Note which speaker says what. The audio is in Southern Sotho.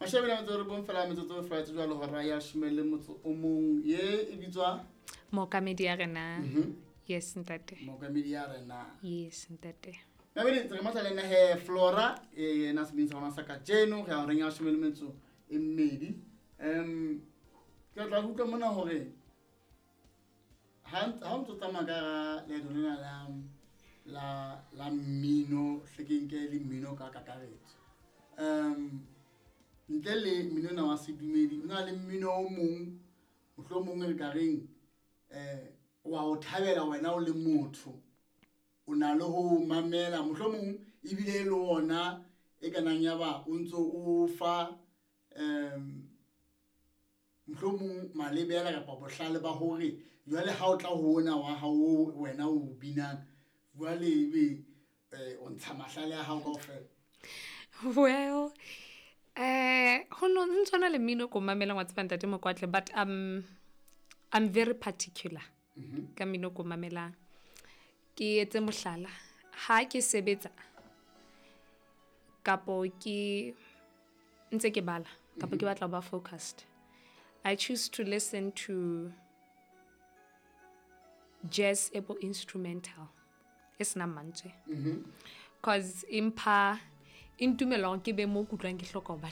Speaker 1: Mashebele a metsotso robong fela metsotso e fela jwalo hora ya leshome le motso o mong. Ye e bitswa
Speaker 2: Mookamedi ya rena. Yes, ntate.
Speaker 1: Mookamedi ya rena.
Speaker 2: Yes, ntate.
Speaker 1: Mabedi ntse re matla le nna he Flora, yena sebini sa rona sa kajeno, re ya horeng ya leshome le metso e mmedi. Ke tla utlwa mona hore ha o ntso tsamaya ka hara leeto lena la mmino, hlekeng le mmino ka kakaretso, ntle le mmino ona wa sedumedi, o na le mmino o mong mohlomong re ka reng wa o thabela wena o le motho, o na le ho mamela mohlomong ebile le ona e ka nang ya ba o ntso o fa mohlomong malebela kapa bohlale ba hore jwale ha o tla ho ona wa hao o wena o binang, jwale ebe o ntsha mahlale a hao kaofela?
Speaker 2: Well, ho no ntso na le mmino ko mamelang, wa tseba, ntate Mokwatle, but I'm very particular ka mmino ko mamelang. Ke etse mohlala, ha ke sebetsa kapo ke ntse ke bala kapo ke batla ho ba focused, I choose to listen to jazz e bo instrumental e senang mantswe, 'cause empa e ntumella hore ke be mo ke utlwang ke hloka ho ba.